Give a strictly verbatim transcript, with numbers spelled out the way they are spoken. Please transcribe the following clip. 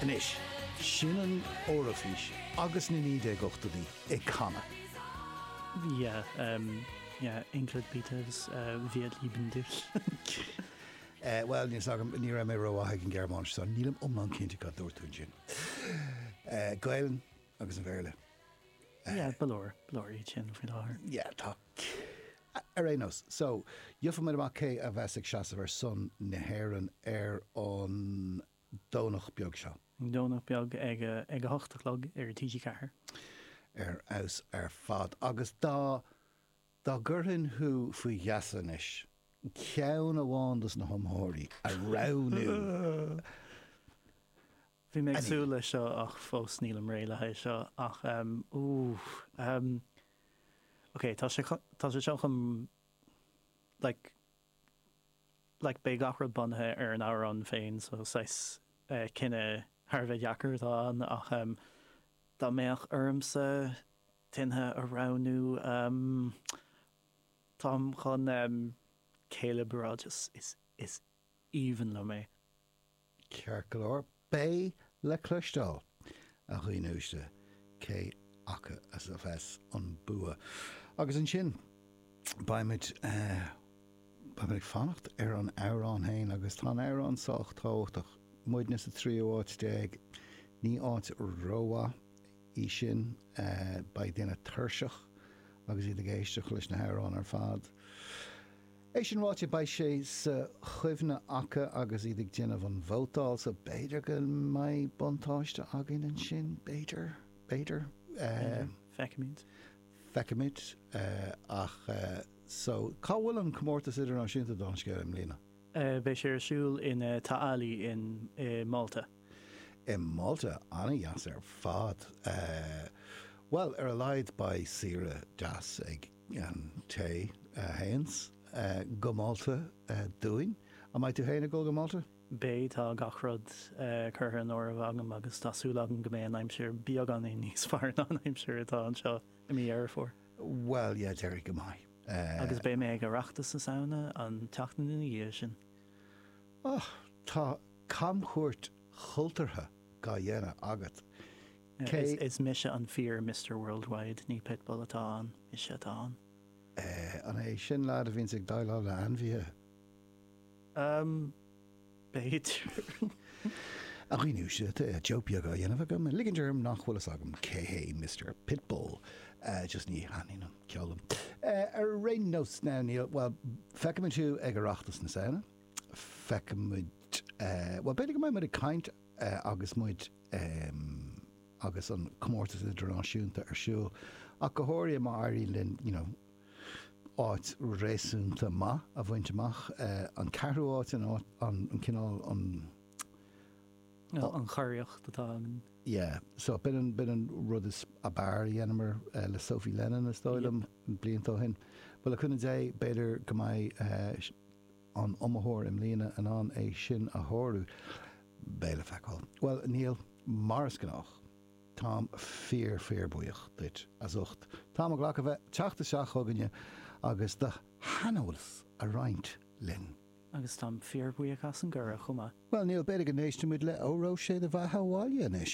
Anois, sin an Eoraifís agus na naoi déag ochtóidí ag canadh. Yeah, um, yeah, Ingrid bitte, uh, wir lieben dich. Uh, well, níl agam ní raibh mé rómhaith ag an Ghearmáinis, so nílim iomlán cinnte cad dúirt tú ansin. Uh, Gaelainn agus an Béarla. Yeah, ba leor, ba leor iad sin faoi láthair. Yeah, tá ar aon nós. So, gheobhaidh muid amach cé a bheas ag seasamh ar son na hÉireann ar an Domhnach beag seo. An Domhnach beag ag a, ag a hocht a chlog ar T G Ceathair. Ar fheabhas ar fad. Agus dá dá gcuirfinn thú faoi gheasa anois, ceann amháin dos na hiomaitheoirí a roghnú. Bhí mé ag súil leis seo ach fós nílim réidh le haghaidh seo ach um, ú, um, ok, tá sé tá sé seo chun like like beidh gach rud bunaithe ar an amhrán féin, so saghas uh, cinneadh thar a bheith deacair atá ann ach um, dá mbeadh ormsa duine a roghnú um, táim chun um, Caleb Rogers is is aoibhinn liom é. Ceart go leor, beidh le cloisteáil a dhaoine uaisle cé acu as a bheas an bua. Agus ansin beimid uh, beimid ag fanacht ar an amhrán féin agus tá an amhrán sách tábhachtach. Muidne sa tríú háit déag ní áit rómhaith í sin uh, beidh daoine tuirseach agus iad ag éisteacht leis na hamhráin ar fad. É sin ráite beidh sé sa chuimhne acu agus iad ag déanamh an vótáil so b'fhéidir go mbeidh buntáiste againn ansin b'fhéidir b'fhéidir. Uh, Feicfimid. Feicfimid uh, ach uh, so cá bhfuil an comórtas idirnáisiúnta don scéal i mbliana? Uh, beidh sé ar siúl in uh, Ta' Qali in uh, Malta. I Malta an-deas ar fad. Uh, well ar a laghad beidh saoire deas ag an té uh, théanns uh, go Malta uh, dúinn. An mbeidh tú féin ag dul go Malta? Beidh tá gach rud uh, curtha in áirithe agam agus tá súil agam go mbeidh an aimsir beagáinín níos fearr ná an aimsir atá anseo i mí Dheireadh Fómhair. Well, yeah, déarfainn go mbeidh. Uh, Agus beidh mé ag Oireachtas na Samhna an tseachtain ina dhiaidh sin. Oh, tá camchuairt chultúrtha á dhéanamh agat. Cé- Is, is mise an fíor Mister Worldwide ní Pitbull atá ann, mise atá ann. Uh, an é sin leaid a bhíonns ag déileáil le hainmhithe? Um, B'fhéidir. A dhaoine uaisle joke beag á dhéanamh agam, ligint orm nach bhfuil fhios agam cé hé Mister Pitbull. Uh, just ní thaitníonn an ceol. Uh, ar aon nós now Neil, well, feicfimid tú ag Oireachtas na Samhna. Feicfimid uh, well, b'fhéidir go mbeidh muid ag caint uh, agus muid um, agus an comórtas idirnáisiúnta ar siúl. Ach go háirithe má éiríonn linn, you know, áit réasúnta maith a bhaint amach uh, an ceathrú áit an áit an, an cineál an an chóiríocht atá an Yeah, so b'in an b'in an rud is ab fhearr a dhéanamar uh, le Sophie Lennon is dóigh liom blianta ó shin. Well le cúnamh Dé b'fhéidir go mbeidh uh, an iomaitheoir i mbliana in ann é sin a shárú. Beidh le feiceáil. Well Neil mar is gnách. Táim fíor fíor buíoch duit as ucht. Tá glach a bheith teacht isteach chugainne agus do shaineolas a roinnt linn. Agus táim fíorbhuíoch as an gcuireadh chomh maith. Well Neil b'fhéidir go n-éistfimid le Óró Sé do Bheatha 'Bhaile anois.